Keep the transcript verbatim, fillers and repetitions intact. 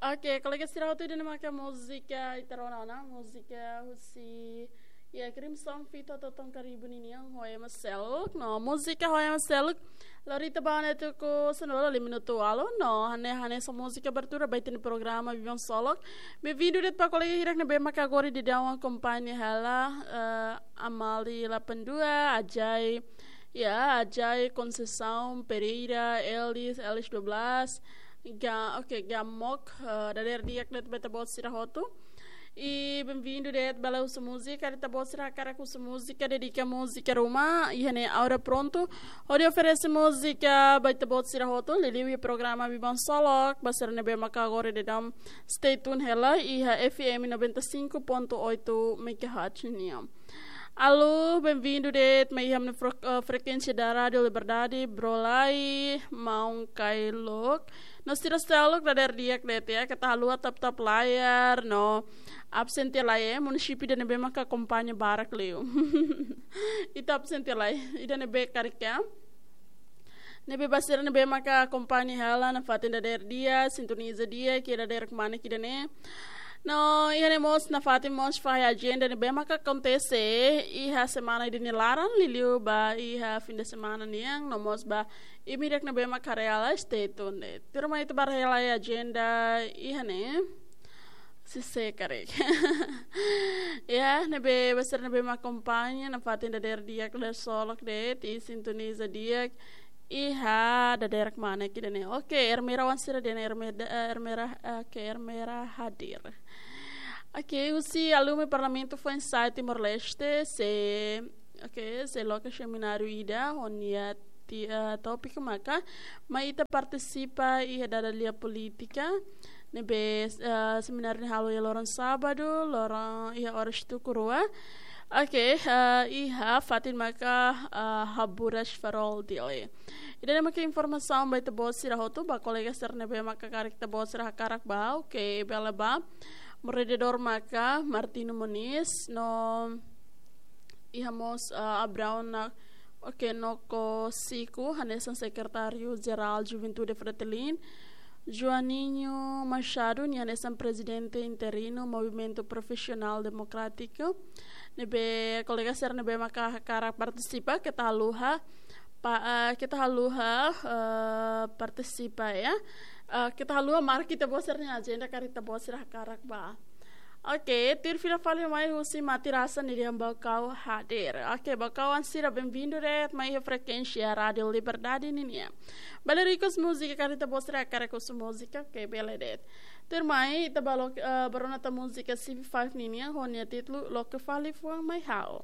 Oke, kolega sira hotu, ida-ne'e maka múzika ita rona ona, múzika husi, ya, Crimson feat Toton Karibu ninian, Ho Ema Seluk. No, múzika Ho Ema Seluk lori ita ba ona tuku sanulu-resin-lima minutu ualu, no, hanesan, hanesan múzika abertura ba ita-nia programa Biban Solok. Benvindu de'it ba kolega hirak ne'ebé maka agora daudaun akompaña hela, eh, Amali delapan dua, Ajai, ya, Ajai, Conceição Pereira, Elis, Elis dua belas, Ga-, oke, Gamok, eh, dadeer di'ak de'it ba ita-boot sira hotu. I benvindu de'it, bele husu múzika, ita-boot sira hakarak husu múzika, dedika múzika ruma, iha ne'e Aura prontu hodi oferese múzika ba ita-boot sira hotu, liuliu iha programa Biban Solok, ba sira ne'ebé maka agora daudaun stay tune hela iha F M noventa e cinco ponto oito megahertz nian. Alô, benvindu de'it mai iha ne'e fre-, eh, frekuénsia da Rádio Liberdade, Brolai, Maun Kailok. No sira seluk dadeer di'ak de'it, ya, keta haluha tap-tap layar, no absen tiha lai, eh, munisípiu ida-ne'ebé maka akompaña barak liu. Ita absen tiha lai, ida-ne'ebé karik, ya. Ne'ebé ba sira ne'ebé maka akompaña hela nafatin dadeer di'ak, sintoniza di'ak, ke dadeer kemana ke ida-ne'e. No, iha ne'e mós nafatin mós fahe ajenda ne'ebé maka akontese iha semana ida-ne'e laran, liuliu ba iha fim de semana nian, no mós ba imi hirak ne'ebé maka haree hela, stay tuned. Tuirmai ita bá haree hela ajenda iha ne'e. Se karik. Ya, ne'ebé ba sira ne'ebé maka akompaña nafatin dadeer di'ak, dadeer solok de'it, i sintoniza di'ak iha dadeer kemana ke ida-ne'e. Oke, Ermera wan sira dehan Ermera, eh, Ermera, oke, Ermera hadir. Oke, husi Alume Parlamentu Foinsa'e Timor-Leste, sei, oke, sei loke semináriu ida, ho nia ti-, eh, tópiku maka, mai ita partisipa iha dada lia polítika, ne'ebé, eh, semináriu ne'e halo iha loron sábadu, loron iha oras tuku rua. Oke, eh, iha fatin maka, eh, Haburas Farol Dili. Ida-ne'e maka informasaun ba ita-boot sira hotu, ba kolega sira ne'ebé maka karik ita-boot sira hakarak bá, oke, bele bá. Moderadór maka Martino Moniz, no iha mós, ah, Abraão Na-, oke, Noko Siku, hanesan Sekretáriu Jerál Juventude Fretilin, Joaninho Machado, nia hanesan Prezidente Interinu Movimentu Profisionál Demokrátiku. Ne'ebé kolega sira ne'ebé maka hakarak partisipa, keta haluha, pa-, eh, keta haluha, eh, partisipa, ya. Eh, keta haluha marka ita-boot sira-nia ajenda karik ita-boot sira hakarak bá. Oke, tuir fila fali mai husi Mati Rasa nia dehan Baucau hadir. Oke, Baucauan sira benvindu de'it mai iha frekuénsia Rádio Liberdade ninian. Bele request múzika karik ita-boot sira hakarak husu múzika, oke, bele de'it. Tuirmai, ita bá loke, eh, bá rona tan múzika C V five ninian, ho nia títulu Loke Fali Fuan Mai Ha'u.